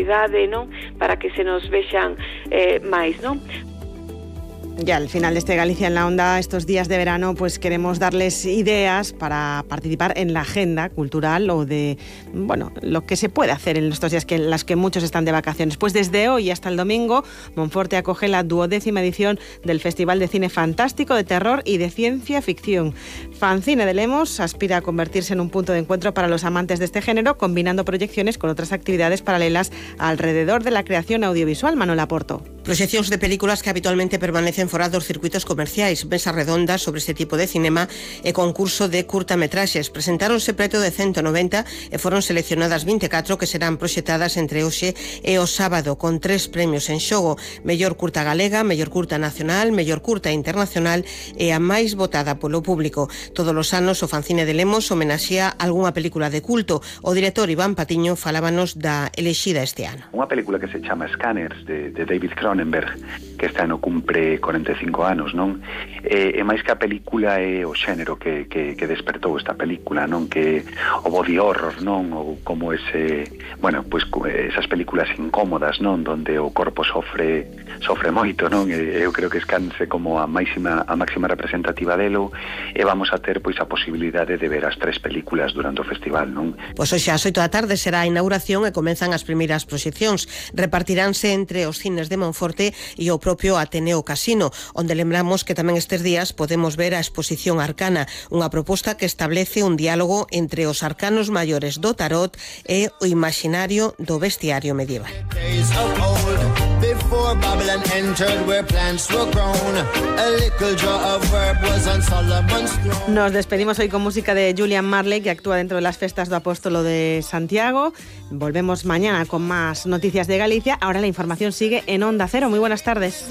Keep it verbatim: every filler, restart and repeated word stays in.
visibilidade, non? Para que se nos vexan eh, máis, non? Ya al final de este Galicia en la Onda, estos días de verano, pues queremos darles ideas para participar en la agenda cultural o de, bueno, lo que se puede hacer en estos días que, en las que muchos están de vacaciones. Pues desde hoy hasta el domingo, Monforte acoge la duodécima edición del Festival de Cine Fantástico, de Terror y de Ciencia Ficción. Fancine de Lemos aspira a convertirse en un punto de encuentro para los amantes de este género, combinando proyecciones con otras actividades paralelas alrededor de la creación audiovisual. Manuel Aporto. Proxeccións de películas que habitualmente permanecen fora dos circuitos comerciais, mesas redondas sobre este tipo de cinema e concurso de curtametraxes. Presentáronse preto de ciento noventa e foron seleccionadas vinte e catro que serán proxectadas entre hoxe e o sábado, con tres premios en xogo: mellor curta galega, mellor curta nacional, mellor curta internacional e a máis votada polo público. Todos os anos o Fancine de Lemos homenaxea algunha película de culto. O director Iván Patiño falábanos da elexida este ano. Unha película que se chama Scanners, de, de David Cronenberg, que este ano cumpre corenta e cinco anos, non? E, e máis que a película é o xénero que, que, que despertou esta película, non? Que o body horror, non? Ou como ese, bueno, pois esas películas incómodas, non? Donde o corpo sofre sofre moito, non? E eu creo que Scanners é como a máxima a máxima representativa delo, e vamos a ter pois a posibilidade de ver as tres películas durante o festival, non? Pois hoxe ás oito da tarde será a inauguración e comenzan as primeiras proxeccións. Repartiránse entre os cines de Monforte e o propio Ateneo Casino, onde lembramos que tamén estes días podemos ver a exposición Arcana, unha proposta que establece un diálogo entre os arcanos maiores do tarot e o imaginario do bestiario medieval. Nos despedimos hoy con música de Julian Marley, que actúa dentro de las festas do Apóstolo de Santiago. Volvemos mañana con más noticias de Galicia. Ahora la información sigue en Onda Cero. Muy buenas tardes.